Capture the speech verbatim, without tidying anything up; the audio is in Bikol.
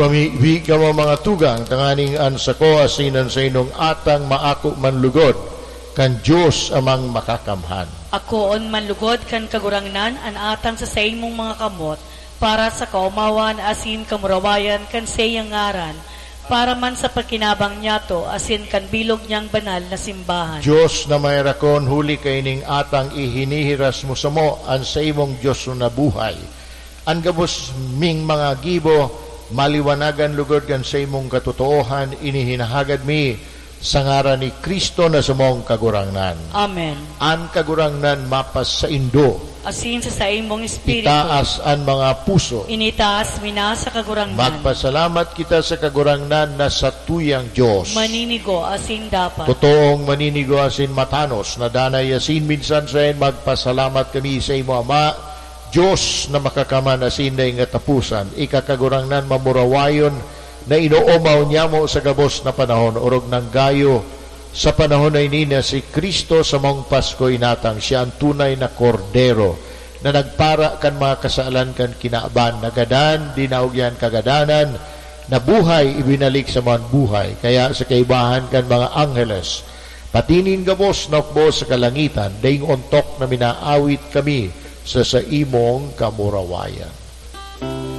Pamibi kamo, mga tugang, tanganing an sako asin an saindong atang maako man lugod kan Dios Amang Makakamhan. Akoon man lugod kan Kagurangnan an atang sa saimong mga kamot, para sa kaomawan asin kamurawayan kan saiyang ngaran, para man sa pakinabang niyato asin kan bilog niyang banal na simbahan. Dios na maherakon, huli kaining atang ihinihiras mo samo an saimong Dios na buhay. An gabos ming mga gibo, maliwanagan lugod kan saimong katotoohan, ini hinahagad mi sa ngaran ni Cristo na samong Kagurangnan. Amen. An Kagurangnan mapasaindo. Asin sa saimong espiritu. Itaas an mga puso. Initaas mi na sa Kagurangnan. Magpasalamat kita sa Kagurangnan na satuyang Dios. Maninigo asin dapat. Totoong maninigo asin matanos na danay asin minsan saen magpasalamat kami sa imo, Ama, Dios na makakamhan asin daing kataposan, ika Kagurangnan mamurawayon na inoomaw niamo sa gabos na panahon, orog nanggayo sa panahon na ini na si Cristo samong Pasko inatang. Siya an tunay na Kordero na nagpara kan mga kasalan kan kinaban. Nagadan, dinaog niya an kagadanan, nabuhay, ibinalik sa mga buhay. Kaya sa kaibahan kan mga angheles, pati nin gabos na hukbo sa kalangitan, daing ontok na minaawit kami sa saimong kamurawayan.